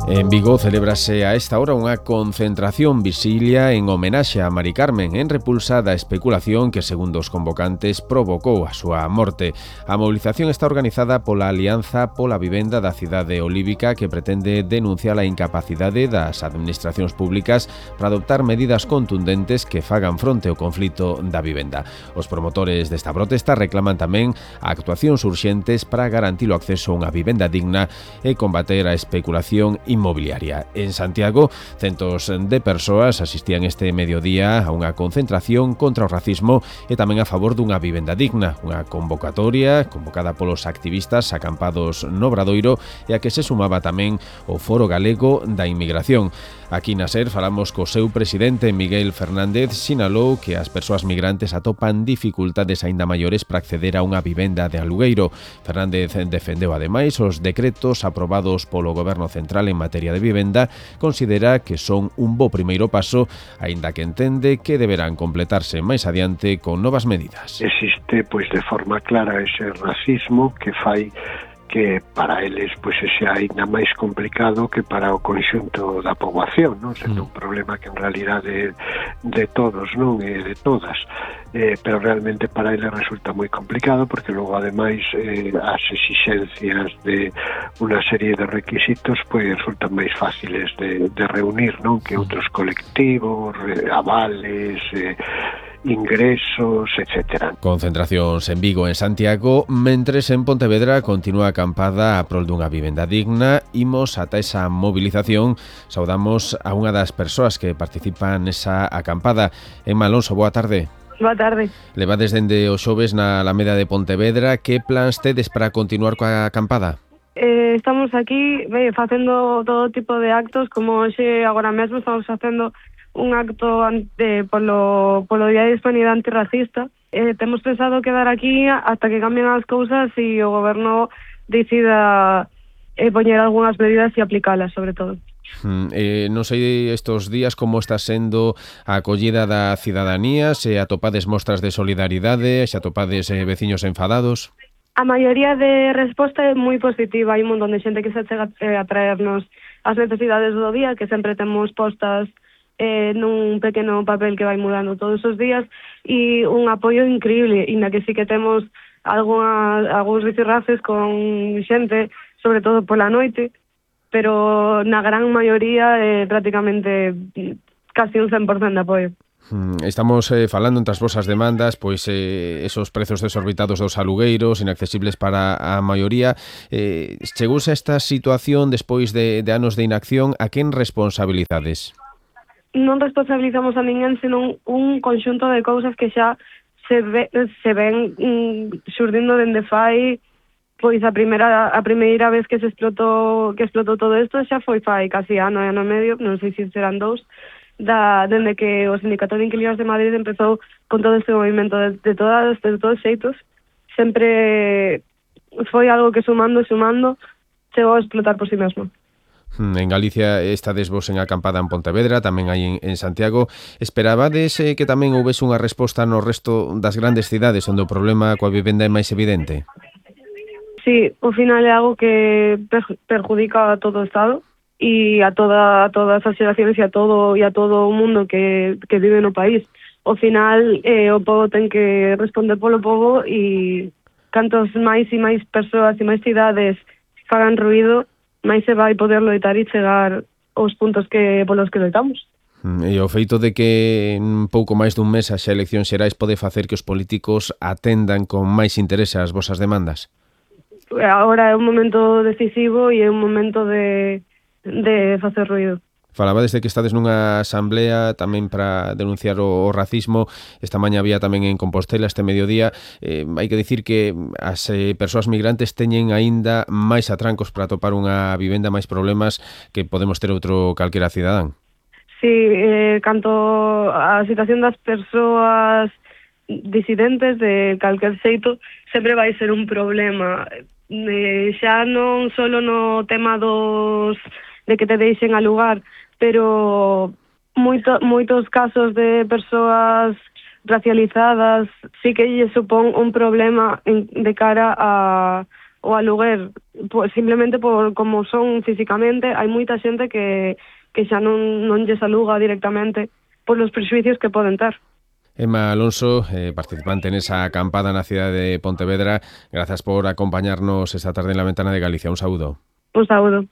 En Vigo celébrase a esta hora unha concentración visilia en homenaxe a Mari Carmen en repulsa da especulación que, segundo os convocantes, provocou a súa morte. A movilización está organizada pola Alianza pola Vivenda da cidade olívica, que pretende denunciar a incapacidade das administracións públicas para adoptar medidas contundentes que fagan fronte ao conflito da vivenda. Os promotores desta protesta reclaman tamén actuacións urxentes para garantir o acceso a unha vivenda digna e combater a especulación inmobiliaria. En Santiago, centos de persoas asistían este mediodía a unha concentración contra o racismo e tamén a favor dunha vivenda digna, unha convocatoria convocada polos activistas acampados no Obradoiro e a que se sumaba tamén o Foro Galego da Inmigración. Aquí na SER falamos co seu presidente, Miguel Fernández, sinalou que as persoas migrantes atopan dificultades aínda maiores para acceder a unha vivenda de alugueiro. Fernández defendeu ademais os decretos aprobados polo Goberno Central en materia de vivenda, considera que son un bo primeiro paso, aínda que entende que deberán completarse máis adiante con novas medidas. Existe, de forma clara, ese racismo que fai que para eles sea ainda máis complicado que para o conxunto da poboación, non? Sendo un problema que en realidade de todos, non? E de todas, pero realmente para eles resulta moi complicado porque logo ademais as exixencias de unha serie de requisitos resultan máis fáciles de reunir, non? Que outros colectivos, avales, ingresos, etc. Concentracións en Vigo e en Santiago, mentres en Pontevedra continúa a acampada a prol dunha vivenda digna. Imos ata esa movilización, saudamos a unha das persoas que participan nesa acampada. Emma Alonso, boa tarde. Boa tarde. Levades dende o xoves na Alameda de Pontevedra. Que plans tedes para continuar coa acampada? Estamos aquí facendo todo tipo de actos, como hoxe agora mesmo estamos facendo un acto polo Día de Hispanidade Antirracista. Temos pensado quedar aquí hasta que cambien as cousas e o goberno decida poñer algunhas medidas e aplicalas, sobre todo. Non sei estos días como está sendo a acollida da cidadanía, se atopades mostras de solidaridade, se atopades veciños enfadados. A maioría de resposta é moi positiva. Hai un montón de xente que se chega a traernos as necesidades do día, que sempre temos postas nun pequeno papel que vai mudando todos os días, e un apoio increíble, e na que sí que temos algúns rifirrafes con xente, sobre todo pola noite, pero na gran maioría prácticamente casi un 100% de apoio. Estamos falando entre as vosas demandas, esos prezos desorbitados dos alugueiros, inaccesibles para a maioría. Chegouse a esta situación despois de anos de inacción. A quen responsabilizades? Non responsabilizamos a ninguén, senón un conxunto de cousas que xa se ven xurdindo dende fai, a primeira vez que explotou todo isto xa foi fai casi ano e medio, non sei se serán dous, dende que o Sindicato de Inquilinos de Madrid empezou con todo este movimento de todos xeitos. Sempre foi algo que sumando chegou a explotar por si mesmo. En Galicia estades vos en acampada en Pontevedra, tamén hai en Santiago. Esperabades que tamén houvese unha resposta no resto das grandes cidades onde o problema coa vivenda é máis evidente? Sí, ao final é algo que perjudica a todo o Estado e a todas as xeracións e a todo o mundo que vive no país. Ao final o pobo ten que responder polo pobo, e cantos máis e máis persoas e máis cidades fagan ruído, máis se vai poder loitar e chegar aos puntos polos que loitamos. E o feito de que en pouco máis dun mes as eleccións xerais pode facer que os políticos atendan con máis interese as vosas demandas? Agora é un momento decisivo e é un momento de facer ruído. Falabades de que estades nunha asamblea tamén para denunciar o racismo. Esta mañá había tamén en Compostela este mediodía. Hai que dicir que as persoas migrantes teñen aínda máis atrancos para atopar unha vivenda, máis problemas que podemos ter outro calquera cidadán. Sí, canto a situación das persoas disidentes de calquer xeito sempre vai ser un problema. Xa non só no tema de que te deixen alugar, pero moitos casos de persoas racializadas sí que lle supón un problema de cara o aluguer, pues, simplemente por como son físicamente. Hai moita xente que xa non lles aluga directamente por los prexuicios que poden ter. Emma Alonso, participante en esa acampada na cidade de Pontevedra, grazas por acompañarnos esta tarde en La Ventana de Galicia. Un saúdo. Un saúdo.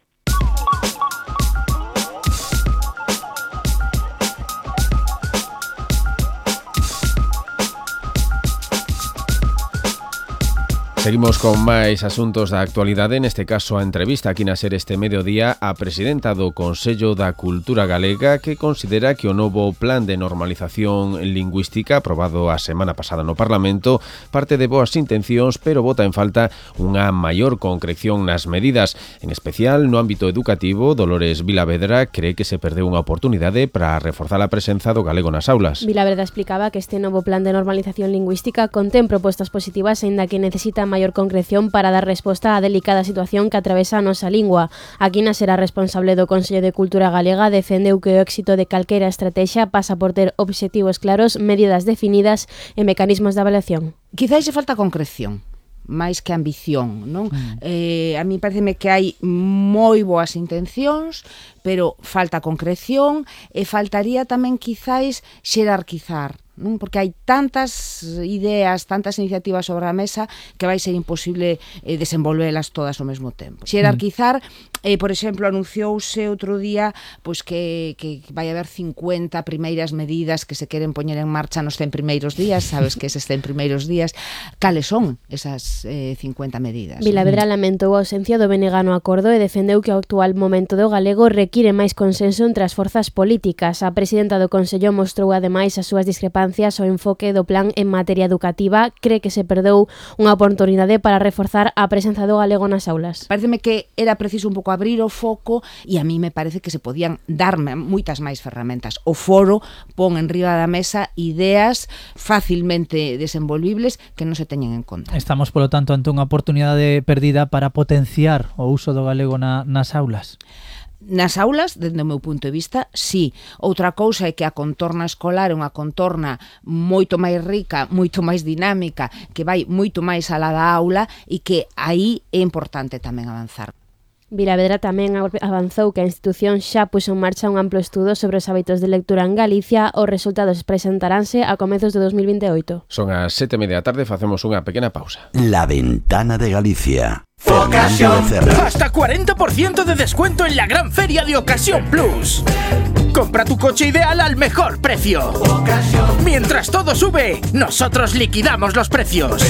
Seguimos con máis asuntos da actualidade, neste caso a entrevista aquí na SER este mediodía a presidenta do Consello da Cultura Galega, que considera que o novo plan de normalización lingüística aprobado a semana pasada no Parlamento parte de boas intencións, pero bota en falta unha maior concreción nas medidas. En especial no ámbito educativo, Dolores Vilavedra cree que se perdeu unha oportunidade para reforzar a presenza do galego nas aulas. Vilavedra explicaba que este novo plan de normalización lingüística contén propostas positivas, aínda que necesita maior concreción para dar resposta á delicada situación que atravesa a nosa lingua. Aquí na SER, responsable do Consello de Cultura Galega, defendeu que o éxito de calquera estrategia pasa por ter obxectivos claros, medidas definidas e mecanismos de avaliación. Quizás lle falta concreción máis que ambición, non? A mí pareceme que hai moi boas intencións, pero falta concreción e faltaría tamén quizás xerarquizar, non? Porque hai tantas ideas, tantas iniciativas sobre a mesa que vai ser imposible desenvolvelas todas ao mesmo tempo. Xerarquizar, por exemplo, anunciouse outro día pois que vai haber 50 primeiras medidas que se queren poñer en marcha nos 100 primeiros días. Sabes que eses 100 primeiros días, cales son esas 50 medidas? Vilavedra lamentou a ausencia do benegano acordo e defendeu que o actual momento do galego require máis consenso entre as forzas políticas. A presidenta do Consello mostrou ademais as súas discrepancias ao enfoque do plan en materia educativa. Cree que se perdeu unha oportunidade para reforzar a presenza do galego nas aulas. Pareceme que era preciso un pouco abrir o foco e a mí me parece que se podían darme moitas máis ferramentas. O foro pon en riba da mesa ideas facilmente desenvolvibles que non se teñen en conta. Estamos, polo tanto, ante unha oportunidade perdida para potenciar o uso do galego nas aulas. Nas aulas, dende o meu punto de vista, sí. Outra cousa é que a contorna escolar é unha contorna moito máis rica, moito máis dinámica, que vai moito máis alá da aula e que aí é importante tamén avanzar. Vilavedra tamén avanzou que a institución xa puxo en marcha un amplo estudo sobre os hábitos de lectura en Galicia. Os resultados presentaránse a comezos de 2028. Son as 7:30 da tarde, facemos unha pequena pausa. La Ventana de Galicia. ¡Ocasión! ¡Hasta 40% de descuento en la gran feria de Ocasión Plus! Compra tu coche ideal al mejor precio. Mientras todo sube, nosotros liquidamos los precios.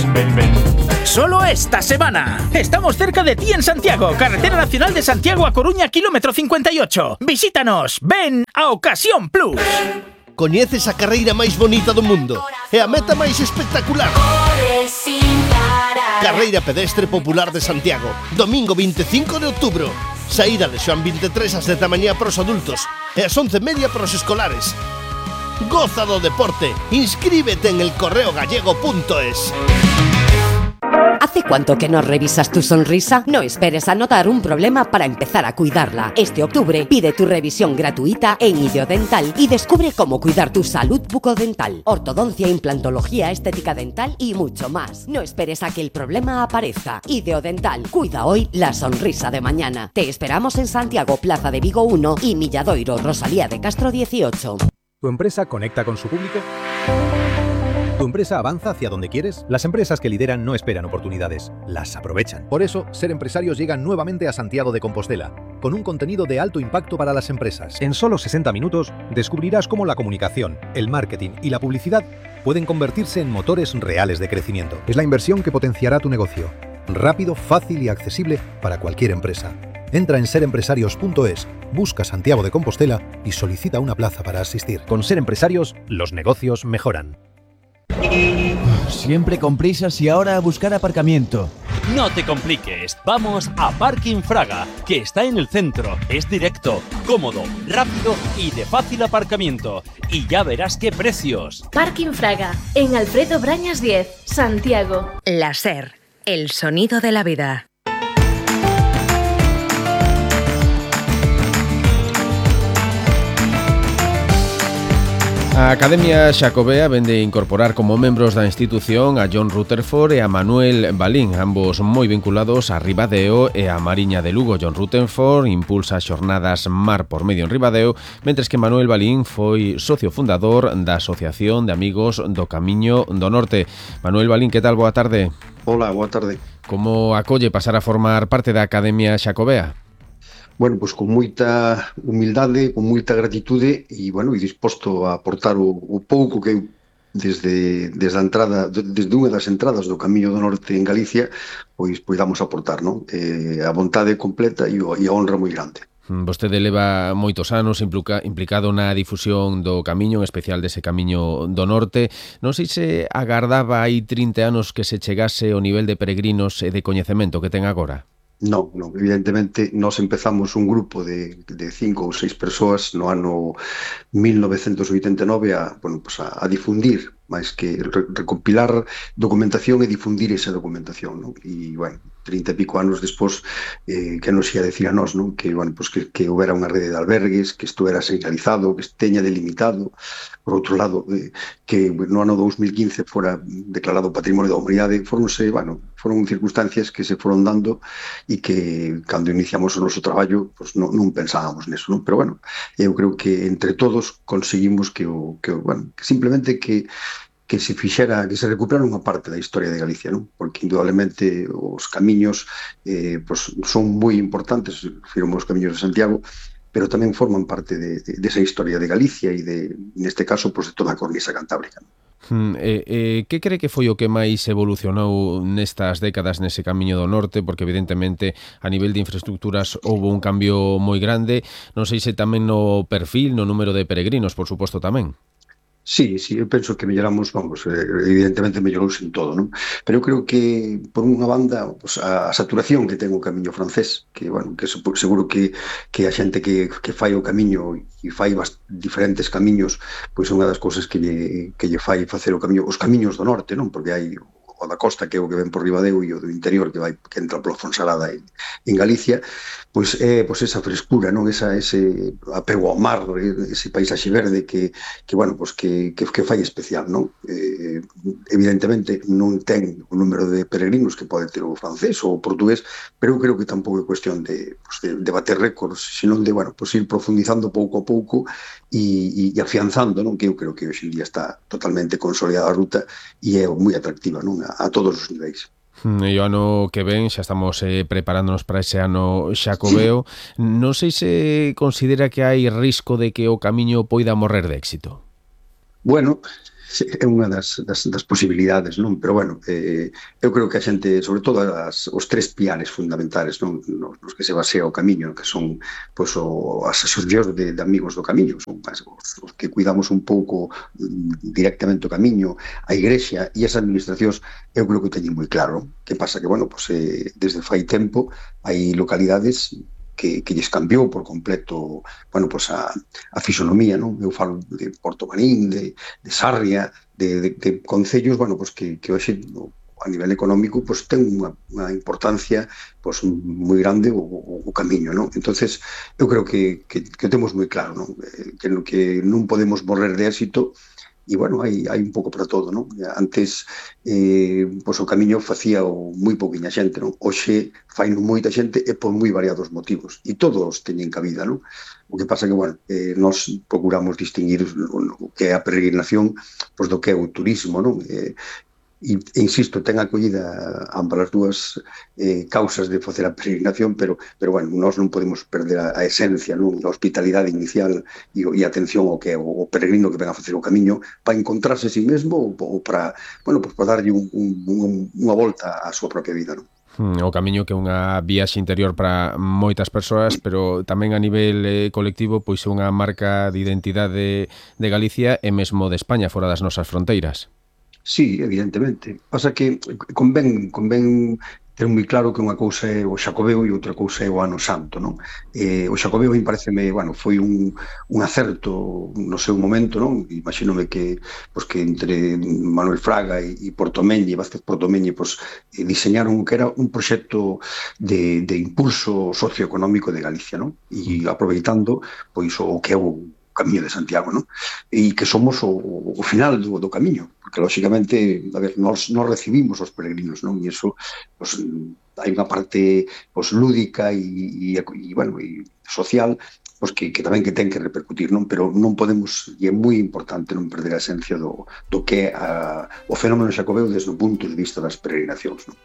Solo esta semana. Estamos cerca de ti en Santiago, Carretera Nacional de Santiago a Coruña, kilómetro 58. Visítanos, ven a Ocasión Plus. Coñeces a carreira máis bonita do mundo e a meta máis espectacular. Carreira pedestre popular de Santiago, domingo 25 de outubro. Saída de Xoán 23 ás 10 da mañá para os adultos e ás 11:30 para os escolares. Goza do deporte, inscríbete en elcorreogallego.es. ¿Hace cuánto que no revisas tu sonrisa? No esperes a notar un problema para empezar a cuidarla. Este octubre pide tu revisión gratuita en Ideodental y descubre cómo cuidar tu salud bucodental, ortodoncia, implantología, estética dental y mucho más. No esperes a que el problema aparezca. Ideodental, cuida hoy la sonrisa de mañana. Te esperamos en Santiago, Plaza de Vigo 1 y Milladoiro, Rosalía de Castro 18. ¿Tu empresa conecta con su público? ¿Tu empresa avanza hacia donde quieres? Las empresas que lideran no esperan oportunidades, las aprovechan. Por eso, Ser Empresarios llega nuevamente a Santiago de Compostela, con un contenido de alto impacto para las empresas. En solo 60 minutos, descubrirás cómo la comunicación, el marketing y la publicidad pueden convertirse en motores reales de crecimiento. Es la inversión que potenciará tu negocio. Rápido, fácil y accesible para cualquier empresa. Entra en serempresarios.es, busca Santiago de Compostela y solicita una plaza para asistir. Con Ser Empresarios, los negocios mejoran. Siempre con prisas y ahora a buscar aparcamiento. No te compliques, vamos a Parking Fraga, que está en el centro, es directo, cómodo, rápido y de fácil aparcamiento. Y ya verás qué precios. Parking Fraga, en Alfredo Brañas 10, Santiago. La SER, el sonido de la vida. A Academia Xacobea vende incorporar como membros da institución a John Rutherford e a Manuel Balín, ambos moi vinculados a Ribadeo e a Mariña de Lugo. John Rutherford impulsa as xornadas Mar por Medio en Ribadeo, mentres que Manuel Balín foi socio fundador da Asociación de Amigos do Camiño do Norte. Manuel Balín, que tal? Boa tarde. Hola, boa tarde. Como acolle pasar a formar parte da Academia Xacobea? Bueno, pois con moita humildade, con moita gratitude e, bueno, disposto a aportar o pouco que eu desde a entrada, desde unha das entradas do Camiño do Norte en Galicia, pois damos a aportar, non? A vontade completa e a honra moi grande. Vostede leva moitos anos implicado na difusión do camiño, en especial dese Camiño do Norte. Non sei se agardaba aí 30 anos que se chegase ao nivel de peregrinos e de coñecemento que ten agora. Non, evidentemente nós empezamos un grupo de 5 ou 6 persoas no ano 1989 a difundir, máis que recopilar documentación e difundir esa documentación, non? E, bueno, 30 e pico anos despois, que nos ia decir a nós, non? Que, bueno, pues que houbera unha rede de albergues, que isto era señalizado, que teña delimitado, por outro lado, que no ano 2015 fora declarado Patrimonio da Humanidade, foron circunstancias que se foron dando e que, cando iniciamos o noso traballo, pues non pensábamos neso, non? Pero, bueno, eu creo que entre todos conseguimos que simplemente que se fixera, que se recuperara unha parte da historia de Galicia, non? Porque indudablemente os camiños son moi importantes, firmos os camiños de Santiago, pero tamén forman parte desa historia de Galicia e neste caso, de toda a cornisa cantábrica. Que cree que foi o que máis evolucionou nestas décadas nese Camiño do Norte? Porque evidentemente a nivel de infraestructuras houve un cambio moi grande, non sei se tamén no perfil, no número de peregrinos, por suposto tamén. Sí, eu penso que melloramos, evidentemente mellorouse en todo, non? Pero eu creo que, por unha banda, a saturación que ten o camiño francés, que, bueno, que seguro que a xente que fai o camiño e fai diferentes camiños, pois é unha das cousas que lle fai facer o camiño, os camiños do norte, non? Porque hai o da costa, que é o que ven por Ribadeo, e o do interior, que entra pola Fonsalada en Galicia, pois é esa frescura, non? Ese apego ao mar, ese paisaxe verde que fai especial, non? Evidentemente non ten o número de peregrinos que pode ter o francés ou o portugués, pero eu creo que tampouco é cuestión de bater récords, senón de, ir profundizando pouco a pouco e afianzando, non? Que eu creo que hoxe en día está totalmente consolidada a ruta e é moi atractiva, non? A todos os niveis. E o ano que ven xa estamos preparándonos para ese ano xacobeo. Sí. Non sei se considera que hai risco de que o camiño poida morrer de éxito. Bueno, é unha das posibilidades, non? Pero, bueno, eu creo que a xente, sobre todo os tres piares fundamentais, non? Nos que se basea o camiño, que son as asociacións de amigos do camiño, son os que cuidamos un pouco directamente o camiño, a igrexa e as administracións, eu creo que o teñen moi claro. Que pasa que, bueno, desde fai tempo hai localidades que lles cambiou por completo, a fisonomía, non? Eu falo de Porto Marín, de Sarria, de concellos, que hoxe a nivel económico ten unha importancia moi grande o camiño, non? Entonces, eu creo que temos moi claro, non? Que non podemos morrer de éxito. E, bueno, hai un pouco para todo, non? Antes, o camiño facía moi pouquiña xente, non? Hoxe fai moita xente e por moi variados motivos. E todos teñen cabida, non? O que pasa que, bueno, nós procuramos distinguir o que é a peregrinación do que é o turismo, non? E insisto, ten acollida ambas as dúas causas de facer a peregrinación, pero bueno, nós non podemos perder a esencia, non? A hospitalidade inicial e a atención ao que é o peregrino que ven a facer o camiño para encontrarse a sí mesmo ou para darlle unha volta á súa propia vida, non? O camiño que é unha viaxe interior para moitas persoas, pero tamén a nivel colectivo pois é unha marca de identidade de Galicia e mesmo de España, fora das nosas fronteiras. Sí, evidentemente. Pasa que convén ter moi claro que unha cousa é o xacobeo e outra cousa é o ano santo, non? O xacobeo, me pareceme, foi un acerto no seu momento, non? Imagínome que entre Manuel Fraga e Portomeñi, Vázquez Portomeñi, diseñaron que era un proxecto de impulso socioeconómico de Galicia, non? E aproveitando o que é o Camiño de Santiago, non? E que somos o final do camiño, porque lógicamente, a ver, nós recibimos os peregrinos, non? E iso, pues, hai unha parte pues, lúdica e social, pues, que tamén que ten que repercutir, non? Pero non podemos, e é moi importante non perder a esencia do que é o fenómeno xacobeo desde o punto de vista das peregrinacións, non?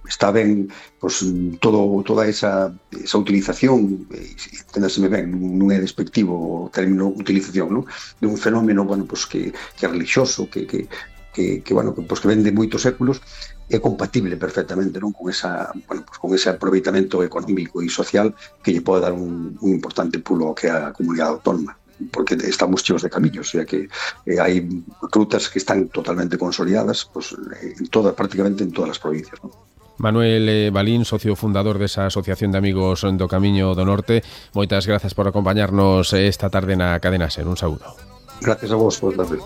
Está ben pues, toda esa utilización, enténdaseme ben, non é despectivo o término utilización, non? De un fenómeno, bueno, pues, que é religioso, que ven de moitos séculos, é compatible perfectamente, non, con ese aproveitamento económico e social que lle pode dar un importante pulo ao que é a comunidade autónoma, porque estamos cheos de camiños, o sea que hai rutas que están totalmente consolidadas pues, prácticamente en todas as provincias, non? Manuel Balín, socio fundador desa Asociación de Amigos do Camiño do Norte, moitas grazas por acompañarnos esta tarde na Cadena SER. Un saúdo. Gracias a vos, por darme.